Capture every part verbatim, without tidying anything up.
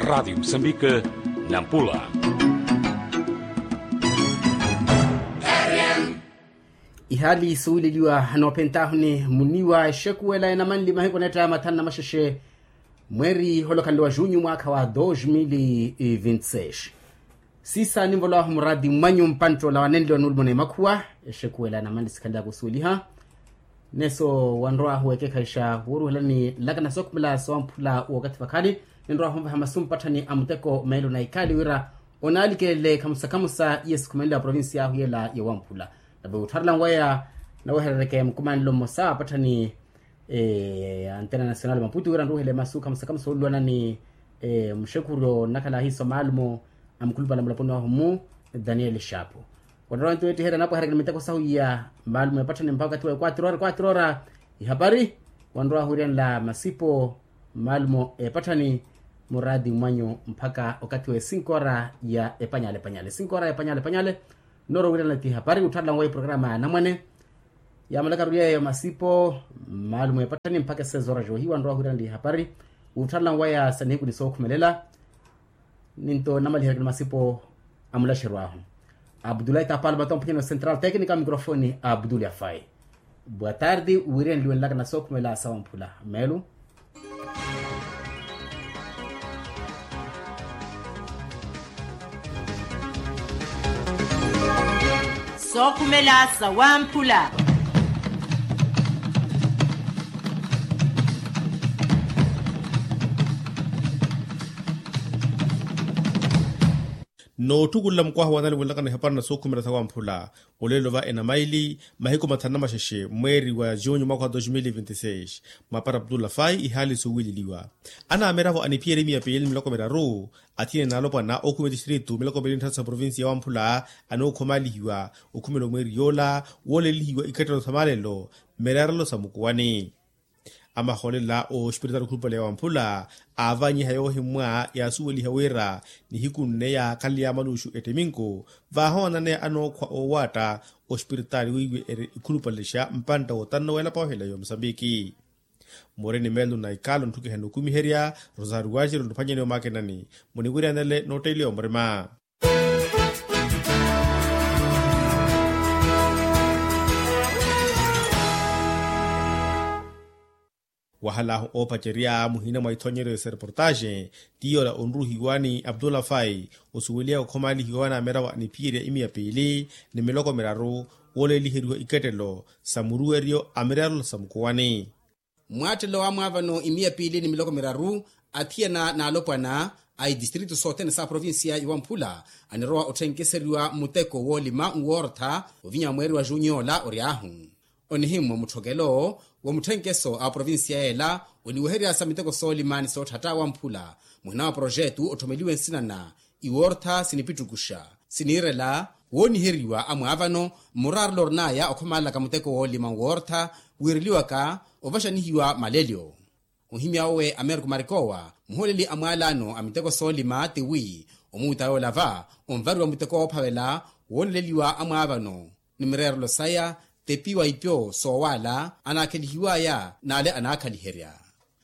Radiyo musambike, nampula. Ihaali suwileliwa anoophentahuni muniwa exekuwela enamanli mahiku neetta mathanu na maxexe, mweeri holokhanle wa junyu mwaakha wa dos mil vinti seis. Siisa ninvolwahu muraati mwanyu mpantta ola wanenliwa nuulumana emakhuwa. Exekuwela enamanli sikhalelaka osuweliha. Neso wanrowaahu wekekhaixa wooruhelani nlakana sookhumela sowamphula wookathi vakhali. Ninrowaahu onvaha masu mpatthani a muteko meelo na ikhaali wira onaalikelele khamusa khamusa iye sikhumenle a provincia ahu yela yowamphula. Nave wuttharela nweya naweherereke mukumanelo mmosa apatthani a antena nacional maputu wira nruhele masu khamusa khamusa oluwana ni muxekhuryo nnakhala ahiiso maalumo a mukhulupale a mulaponi wahu mmu daniel shapu. Wanrowa nto weettiherya anapwaherakeni miteko sahu iya maalumo epatthani mpakha okathi wa equatro ora equatro ora ihapari. Wanrowa ahwiiranela masipo maalumo epatthani muraati mwanyu mpakha okathi wa esinko ora ya epanyale epanyale esinko ora ya epanyale epanyale. Nnoorowiirana ti hapari wuttharela nweya eprograma ya anamwane. Yaamalakaru yeeyo masipo maalumo epatthani mpakha esezoora joohiwa nrowa hwiiraneli hapari. Wuttharela nweya sa nihiku ni sookhumelela. Ninto namaliheryakeni masipo a mulaxeryo ahu. Abdulahi tapalma tomphonyani wa central tecnica microfoni abdul afai. Boa tarde. Wiirenliwe nlaka na sookhumela sawamphula meelu. Sookhumela sawamphula. Nootthukulela mukwaha wa nali winlakana ehapari na sookhumela sawamphula. Olelo va enamaili mahiku mathanu na maxexe mweeri wa junyu mwaakha wa dos mil vinti seis. Mwaapara abdullah fai ihaali suwileliwa. Anamiravo aniphiyerya imiya piili ni miloko miraru athiyene n'alopwana okhuma etistritu miloko miili ni tthatu sa provincia ya wamphula. Anookhomalihiwa okhumela omweeri yoola woolelihiwa ikhettelo sa malelo mmirerelo sa mukuwani. Amahoolela ospiritaali okhulupale ya wamphula aavanyiha yoohimmwa yaasuweliha wira nihiku nne yaakhalelya maluxu ettiminku vaahoonananeya anookhwa oowaatta ospiritaali wiiwe eri ikhulupale xa mpantta wootanna weelapa ohela yomusambiki. Mooreni meelo na ikalo ntthukiha nookumiherya rosario wajiro ntthuphwanyani omaakenani muniwiryanele nootteeliwa murima. Wahalaahu oopacerya muhina mwa ithonyeryo sa reportaxe ti yoola onruhiwa ni abdullah fai osuweliwa okhomalihiwa wa naamerawa niphiyerya imiya piili ni miloko miraru wooleliheriwa ikettelo sa muruweryo a mirerelo sa mukuwani. Mmwaattelo wa mwaavano imiya piili ni miloko miraru athiyana n'alopwana a itistritu sothene sa provincia ya wamphula anirowa otthenkeseryiwa mmuteko woolima nwoortha ovinya mweeri wa junyu yoola ory'ahu. Onihimmwa mutthokelo wa mutthenkeso a provincia yeela oniweherya sa miteko soolima ni sootthatta wamphula muhina wa projetu otthomeliwe nsina na iwoortha sinipittukuxa siniirela wooniheriwa amwaavano mmuraarelo orin'aya okhomalelaka muteko woolima nwoortha wiireliwaka ovaxanihiwa malelyo. Ohimya owe ameriko marikowa muhooleli a mwaalaano a miteko soolima tiwi omuuta yoola va onvariwa muteko woophavela wooleleliwa amwaavano ni mireerelo saya tepiwa ipyo soowaala anaakhelihiwaya n'ale anaakhaliherya.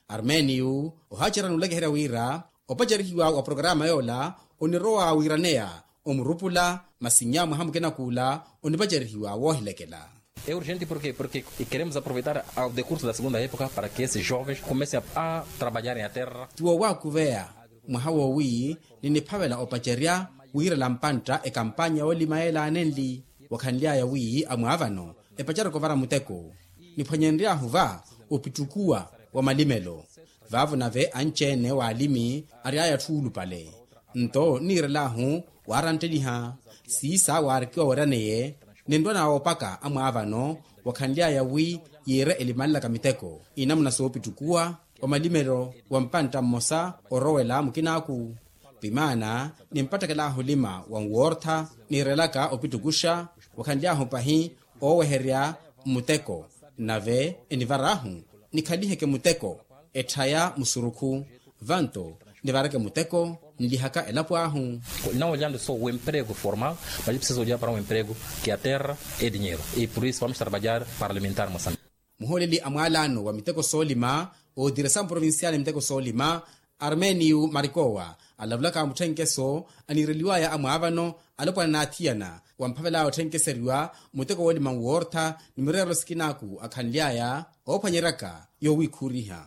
Armênio ohaacerya n'ulakiherya wira opacerihiwa wa programa yoola onirowa wiiraneya omurupula masi nnya mwaha mukina kuula onipacerihiwa woohilekela. É urgente porquê? Porque queremos aproveitar ao decurso da segunda época para que esses jovens comecem a, a trabalhar em a terra. Ti woowaakuveya mwaha woowi niniphavela opacerya wiirela mpantta ekampanya yoolima yeelaanenli wakhanly'aya wi amwaavano epacereke ovara muteko. Niphwanyenry'ahu va opittukuwa wa malimelo vaavo nave anci-ene waalimi ary'aya atthu oolupale. Nto nniirel'ahu waarantteliha siisa waarikiwa weraneye ninrwa nawoopaka amwaavano wakhanly'aya wi yiire elimanlaka miteko inamuna soopittukuwa wa malimelo wa mpantta mmosa orowela mukin'aku. Vimaana nimpattekel'ahu olima wa nwoortha niirelaka opittukuxa wakhanly'ahu pahi ooweherya mmuteko nave enivar'ahu nikhaliheke muteko etthaya musurukhu vanto nivareke muteko nlihaka elapo ahu. Não olhando só o emprego formal, mas preciso olhar para um emprego que a terra é dinheiro e por isso vamos trabalhar para alimentar Moçambique. Muhooleli a mwaalaano wa miteko soolima otiresa mprovincial miteko soolima Armeniyu marikowa alavulaka mutthenkeso aniireliwaya amwaavano alopwana n'athiyana wamphavelaya otthenkeseryiwa muteko woolima nwoortha ni mireerelo sikinaku akhanly'aya oophwanyeryaka yowiikhuuriha.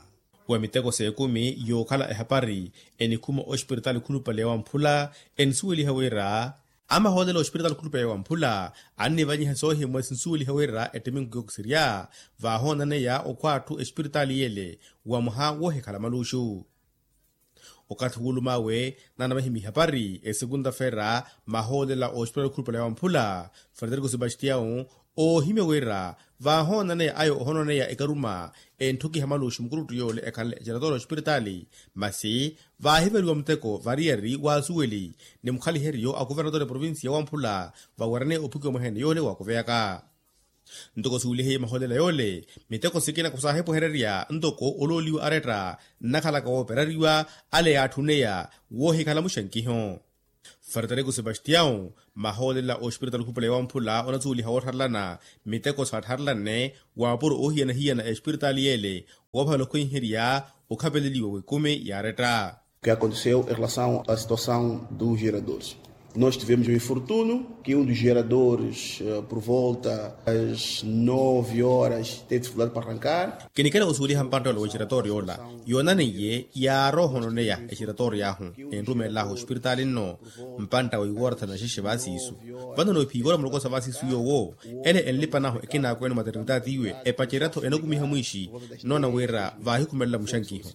Wa miteko s'ekumi yookhala ehapari enikhuma ospiritaali khulupale ya wamphula enisuweliha wira amahoolela ospiritaali khulupale ya wamphula annivanyiha soohimwa sinisuweliha wira ettiminku yookisirya vaahoonaneya okhwa atthu espiritaali yele wa mwaha woohikhala maluxu. Okathi wuulum'awe nanamahimya ihapari esekunta-fera mahoolela ospiritaali khulupale ya wamphula frederico sebastião oohimya wira vaahoonaneya ayo ohoonaneya ekaruma entthukiha maluxu mukuruttu yoole ekhanle ejaratoro ospiritaali masi vaahivariwa muteko variyari w'asuweli ni mukhaliheryo a kuvernatori eprovincia ya wamphula vawerene ophukiwa mwaheene yoole waakuveyaka. Ntoko suwelihe maholela yoole miteko sikina khusaahipuhererya ntoko olooliwa aretta nnakhalaka wooperariwa ale yaatthuneya woohikhala muxankiho. Frederico sebastião maholela ospiritaali khupula ya wamphula onasuweliha woottharelana miteko saattharelane waapuro oohiyana-hiyana espiritaali yele woophavela okhwenherya okhapeleliwa w'ekumi yaaretta. Que aconteceu em relação à situação dos geradores. Nós tivemos um infortúnio que um dos geradores por volta às nove horas teve dificuldade para arrancar. Kinikela osuweliha mpantta ola w'egeratoorio ola yoonaneiye yaari ohononeya egeratoorio ahu enrumeel'ahu ospiritaali nno mpantta wa iwoora thanu na xexe vaasiisu. Vano noophiiwa ola muloko sa vaasiisu yoowo ele enlipanahu ekinaakwene omaternitaati iwe epacerya-tho enakumiha mwiixi nnoona wira vaahikhumelela muxankiho.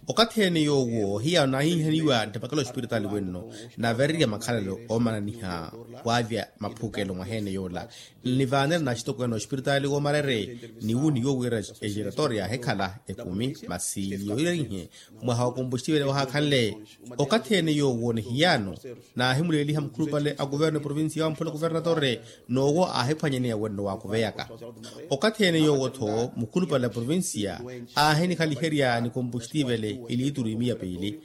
Okathi ene yoowo hiyaano naahihihaniwa nttapakela ospiritaali wenno navererya makhalelo oomananiha waavya maphukelo mwaheene yoola nnivaanela naxitokweene ospiritaali woomarere niwu niwo wira egeratoorio yaahikhala ekumi masi yoohirerihe mwaha wa kompoxtivele wahaakhanle. Okathi ene yoowo ni hiyaano naahimuleeliha mukhulupale a kuverno eprovincia ya wamphula kuvernatore noowo aahiphwanyaneya wenno waakuveyaka. Okathi ene yoowo-tho mukhulupale a provincia aahinikhaliherya ni kompoxtivele iliituru imiya piili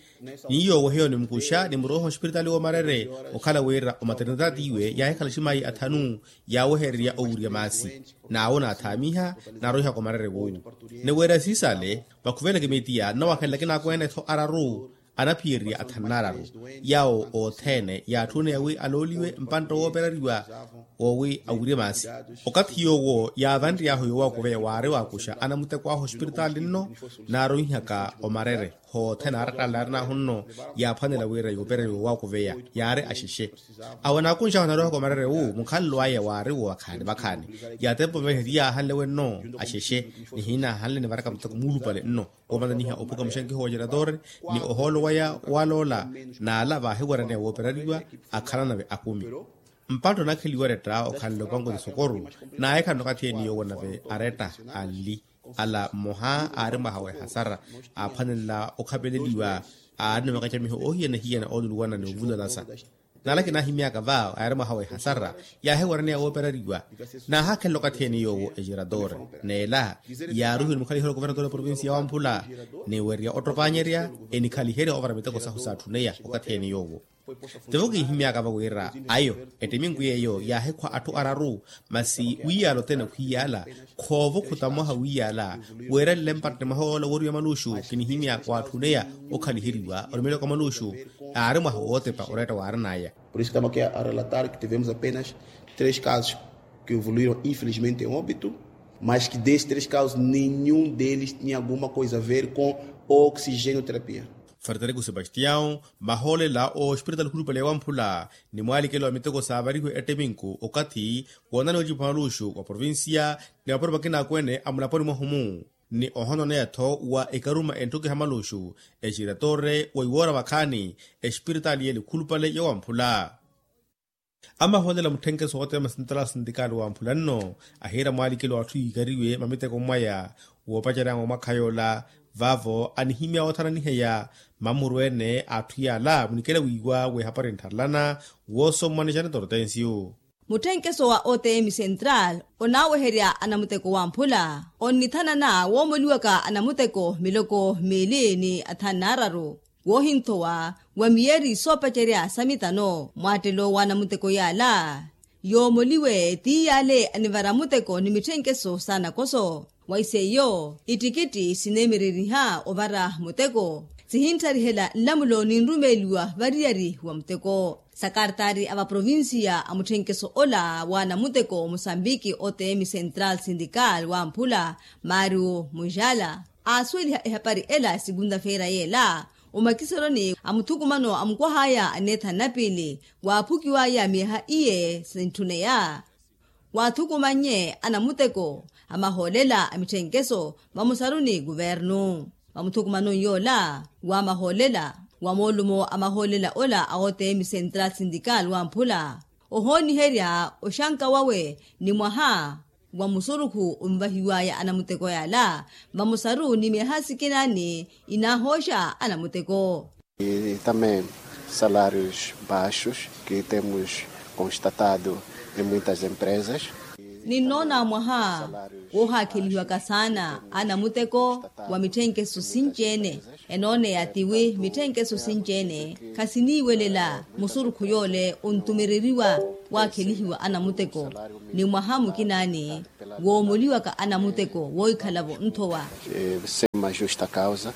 ni yoowo hiyo nimukuxa nimuroiha ospiritaali woomarere okhala wira omaternitaati iwe yaahikhala aximayi athanu yaawehererya owurya maasi naawo naathaamiha naaroihaka omarere woowu. Ni wira siisale vakhuveleke mitiya nnawakhela kinaakwene-tho araru anaphiyererya athanu n'araru yaawo othene yaatthune yawi alooliwe mpantta woopereriwa woowi awirye maasi. Okathi yoowo yaavanry'ahu yoowakuveya waari waakuxa anamuteko ahu ospiritaali nno naaroihaka omarere hothene aarattaala yaarin'ahu nno yaaphwanela wira yoopereriwa yoowakuveya yaari axexe. Awo anaakunx'ahu anaroihaka omarere wu mukhalelo aya waari wo vakhaani vakhaani yaatempa ovehe ti yaahanle wenno axexe ni hiinaahanle nivaraka muteko muulupale nno woomananiha ophuka muxankiho wa geratore ni ohoolo waya waloola n'ala vaahiwaraneya wooperariwa akhalanave akumi. Mpantta onakheliwa aretta okhanle opanko ti sokoru naahikhala nakathi ene yoowo nave aretta anli ala mmoha aari mwaha wa ehasara aaphwanela okhapeleliwa aari ni makacamiho oohiyana-hiyana ooluluwana ni ovulalasa. Nala kinaahimyaka va yaari mwaha wa ehasara yaahiwaraneya wooperariwa naahakhelela okathi ene yoowo egeratore n'ela yaaruhiwe ni mukhaliheryo wa kuvernatori wa provincia ya wamphula ni werya ottopanyerya enikhaliherya oovara miteko sahu saatthuneya okathi ene yoowo. Tivo kiihimyaka va wira ayo ettiminku yeeyo yaahikhwa atthu araru masi wiiyaala othene khwiiyaala khoova okhutamoha wiiyaala. Weerelele mpatte mwaha woola wooriwa maluxu kinihimyaka waatthuneya okhaliheriwa orumeleko maluxu aari mwaha wootepa oretta waarin'aya. Por isso estamos aqui a relatar que tivemos apenas três casos que evoluíram infelizmente em óbito, mas que desses três casos nenhum deles tinha alguma coisa a ver com oxigênio terapia. Frederico sebastião mahoolela ospiritaali khulupale ya wamphula ni mwaalikelo wa miteko saavarihiwe etteminku okathi woonaniwa ocipa maluxu wa provincia ni mapuro makina akwene a mulaponi mwahumu ni ohononeya-tho wa ekaruma entthukiha maluxu exiratore wa iwoora vakhaani espiritaali yele khulupale ya wamphula. Amahoolela mutthenkeso wooteema sintala sintikaali wa mphula nno ahiira mwaalikelo wa atthu yiikariwe mamiteko mwaya woopaceryanga omwakha yoola vaavo anihimya oothananiheya. Mamuru ene a atthu yaala munikela wiiwa w'ehapari nttharelana woosommwa ni janita ortensiyu. Mutthenkeso wa otm central onaaweherya anamuteko wa mphula onnithanana woomoliwaka anamuteko miloko miili ni athanu n'araru woohinthowa wa miyeri soopacerya sa mitano mwaattelo wa anamuteko yaala. Yoomoliwe ti yaale anivara muteko ni mitthenkeso s'anakoso wa iseiyo ittikitti sineemereriha ovara muteko. Sihinttarihela nlamulo ninrumeeliwa variyari wa muteko. Sakartaari a vaprovincia a mutthenkeso ola wa namuteko musambiki otm central sindical wa mphula mario mujala aasuweliha ehapari ela sikunta-feera yeela omakiseroni a muthukumano a mukwah'aya a neetha nnapiili waaphukiw'aya miyaha iye sintthuneya. Waathukumannye anamuteko a mahoolela a mitthenkeso vamusaruni kuvernu vamuthukumanoni yoola wa mahoolela wa moolumo a mahoolela ola a otm central sindical wa mphula ohooniherya oxanka wawe ni mwaha wa musurukhu onvahiw'aya anamuteko yaala vamusaru ni miyaha sikinaani inaahooxa anamuteko. Tambem salários baixos que temos constatado em muitas empresas. Ninnoona mwaha woohaakhelihiwaka saana anamuteko wa mitthenkeso sinci-ene enooneya tiwi mitthenkeso sinci-ene khasiniiwelela musurukhu yoole ontumereriwa waakhelihiwa anamuteko ni mwaha mukinaani woomoliwaka anamuteko woohikhala-vo nthowa. Sema justa causa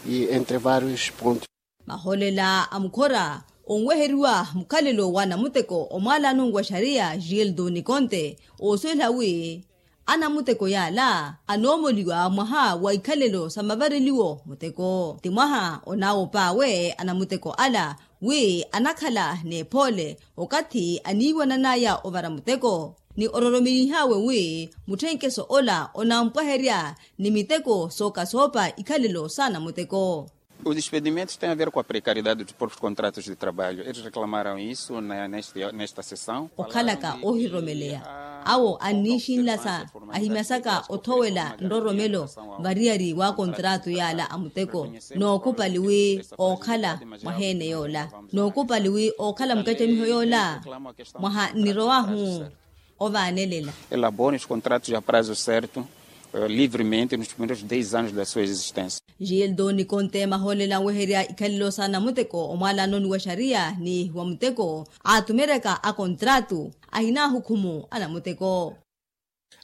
e entre vários pontos. Mahoolela a mukhora onweheriwa mukhalelo wa namuteko omwaalano wa xariya gildo nikonte oosuwela wi anamuteko yaala anoomoliwa mwaha wa ikhalelo sa mavareliwo muteko ti mwaha onaawopa awe anamuteko ala wi anakhala n'ephoole okathi aniiwanan'aya ovara muteko ni ororomenih'awe wi mutthenkeso ola onampwaherya ni miteko sooka soopa ikhalelo sa namuteko. Os despedimentos tem a ver com a precariedade dos próprios contratos de trabalho eles reclamaram isso nesta sessão. Okhalaka oohiromeleiya awo anniixinlasa ahimasaka othowela nroromelo variyari wa kontrato yaala a muteko nookupali wi ookhala mwaheene yoola nookupali wi ookhala mukacamiho yoola mwaha nnirowahu ovaanelela. Elabone os contratos a prazo certo livremente nos primeiros dez anos da sua existência. Gildo nikonte mahoolela anweherya ikhalelo sa namuteko omwaalanoni wa xariya ni wa muteko aatumeryaka akontrato ahinahukhumu a namuteko.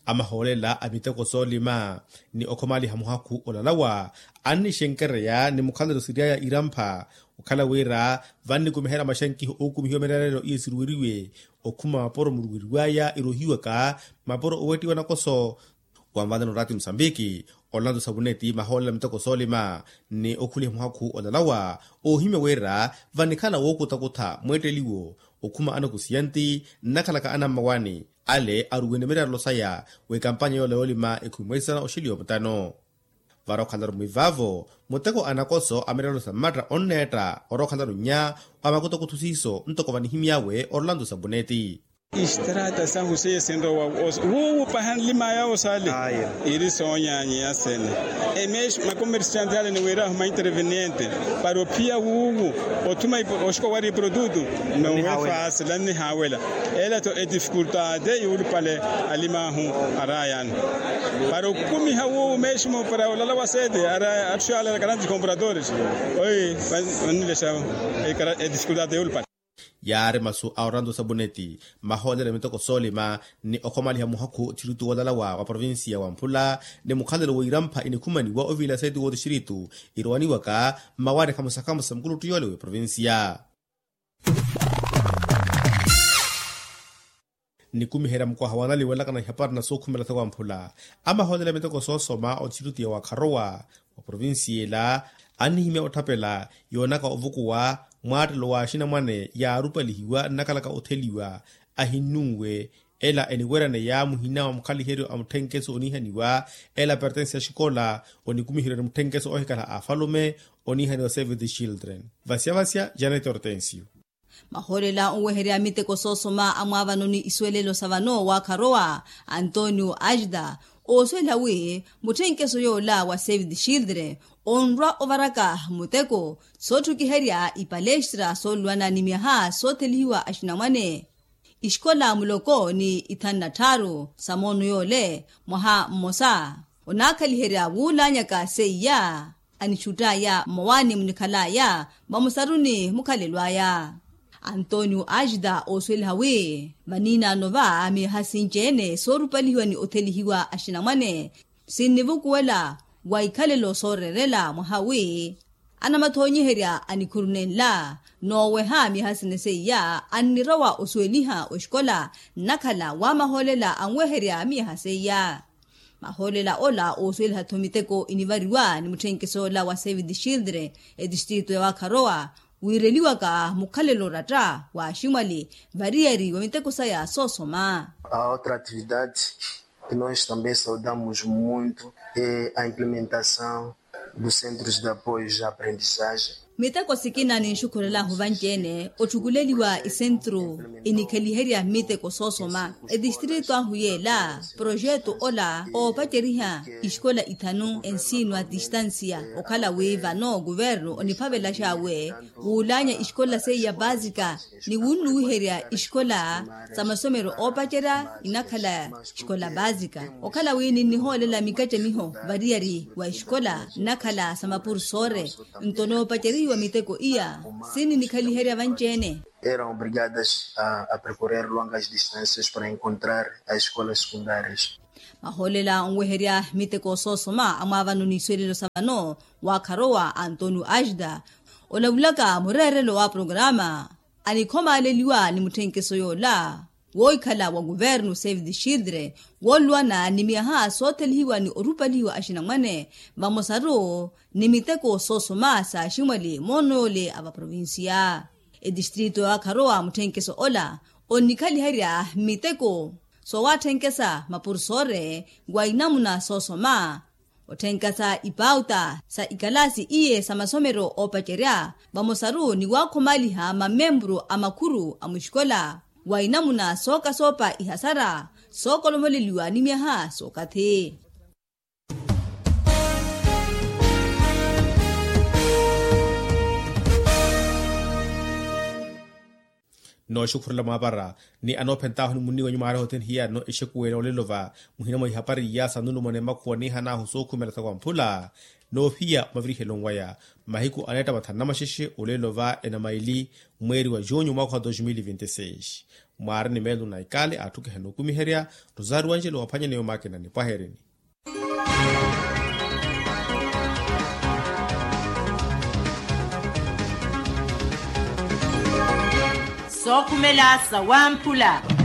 Amahoolela a miteko soolima ni okhomaliha muhakhu olalawa annixenkereya ni mukhalelo siryaya irampha okhala wira vannikumiherya maxankiho ookumihiwa mirarelo iyo siruweriwe okhuma mapuro muruweriwaya irohiwaka mapuro owettiwa nakoso. Wanvanana oraati musambiki olanto sapuneti mahoolela miteko soolima ni okhuliha muhakhu olalawa oohimya wira vanikhala wookutakutha mweetteliwo okhuma anakusiyanti nnakhalaka anammawaani ale aruwene mirarelo saya w'ekampanya yoola yoolima ekhumi mweisana oxeliwa mutano. Vara okhalaru mwivaavo muteko anakoso a mirarelo sa mmatta onneetta orokhalaru nnya wa makutakuthu siiso ntoko vanihimy'awe orolanto sapuneti. Istrata sahu seiye sinrowa wuuwu paha nlimaya osale iri soonyanyiya sene. Emeshi makomersiante ale niwirahu mainterveniente para ophiya wuuwu othuma oxiko wari iprodutu. Nowe fasi lannihaawela ela to edifikultate yuulupale. Alimahu arayano para okumiha wuuwu meshi mupara olala wa sete ara athuxalala karanti compradores. Oyi vanilexa edifikultate yuulupale. Yaari masu a oranto sabuneti mahoolelo a miteko soolima ni okhomaliha muhakhu thiritu woolalawa wa provincia wa mphula ni mukhalelo w'irampha inikhumaniwa oviila seeti woothixiritu irowaniwaka mmawaani khamusa khamusa mukuluttu yoole w'eprovincia. Nikumiherya mukwaha wanaliwelakana ihapari na sookhumela tho wa mphula amahoolelo a miteko soosoma othixiritu ya wakharowa wa provincia ela annihimya otthapela yoonaka ovukuwa mwaattelo wa axinamwane yaarupalihiwa nnakhalaka otheliwa ahinnunwe. Ela eniweryaneya muhina wa mukhaliheryo a mutthenkeso oniihaniwa ela pertense ya xikola onikumiheryo ni mutthenkeso oohikhala a afalume oniihaniwa save the children. Vasyavasya janet hortensio. Mahoolela onweherya miteko soosoma amwaavano ni isuwelelo sa vano waakharowa antonio ajda oosuwela wi mutthenkeso yoola wa save the children onrwa ovaraka muteko sootthukiherya ipalestra soolwana ni myaha soothelihiwa axinamwane ixikola muloko ni ithanu na tthaaru sa moono yoole mwaha mmosa onaakhaliherya wuulaanyaka seiya anixutt'aya mmawaani munikhal'aya vamusaruni mukhalelo aya. Antonio ajda oosuweliha wi vaniinaano va miyaha sinci-ene soorupalihiwa ni othelihiwa axinamwane sinnivukuwela wa ikhalelo sooreerela mwaha wi Anamathonyiherya a nikhuru nenla nooweha miyaha sina seiya annirowa osuweliha oxikola nnakhala wa mahoolela anweherya miyaha seiya. Mahoolela ola oosuweliha-tho miteko inivariwa ni mutthenkeso ola wa save the children etistritu ya wakharowa wiireliwaka mukhalelo oratta wa aximwali variyari wa miteko saya soosoma. A outra atividade que nós também saudamos muito é a implementação dos centros de apoio de aprendizagem. Miteko sikina ninxukhurel'ahu vanci-ene otthukuleliwa isentru inikheliherya miteko soosoma etistritu ahu yeela projetu ola oopaceriha isikola ithanu ensino a tistansiya okhala wi vano kuvernu oniphavelax'awe wuulanya isikola seiya paasika ni wunnuwiherya isikola sa masomero oopacerya inakhala isikola paasika okhala wi ninnihoolela mikacamiho variyari wa isikola nnakhala sa mapursore. Nto noopacerihiwa miteko iya sininikhaliherya vanci-ene. Eram obrigadas a percorrer longas distâncias para encontrar as escolas secundárias. Mahoolela onweherya miteko soosoma amwaavano ni iswelelo sa vano wakharowa antonio ajda olavulaka mureerelo wa programa anikhomaaleliwa ni mutthenkeso yoola woikhala wa kuvernu save the children wooluwana ni miyaha soothelihiwa ni orupalihiwa axinamwane vamosaru ni miteko soosoma sa aximwali moono yoole a vaprovincia. Etistritu ya wakharowa mutthenkeso ola onnikhaliherya miteko soowatthenkhesa mapursore wa inamuna soosoma otthenkhesa ipauta sa ikalaasi iye sa masomero oopacerya vamosaru ni waakhomaliha mamemburu a makhuru a muxikola wa inamuna sookasoopa ihasara sookolomoleliwa ni myaha sookathi. Nooxukhurela mwaapara ni anoophentaahu ni munni wenyu mwaari hothene hiyaari no exekuwela olelo va muhina mwa ihapari ya sa nulumona emakhuwa niihanaahu sookhumela sa kwamphula noophiya omavirihelo nwaya mahiku aneetta mathanu namaxexe olelo va enamaili mweeri wa junyu mwaakha wa dos mil e vinte e seis. Mwaari ni meelo na ikale aatthukihana okumiherya rosario angelo waphwanyaneya omaakina nipwaherini. Sookhumela sa wamphula.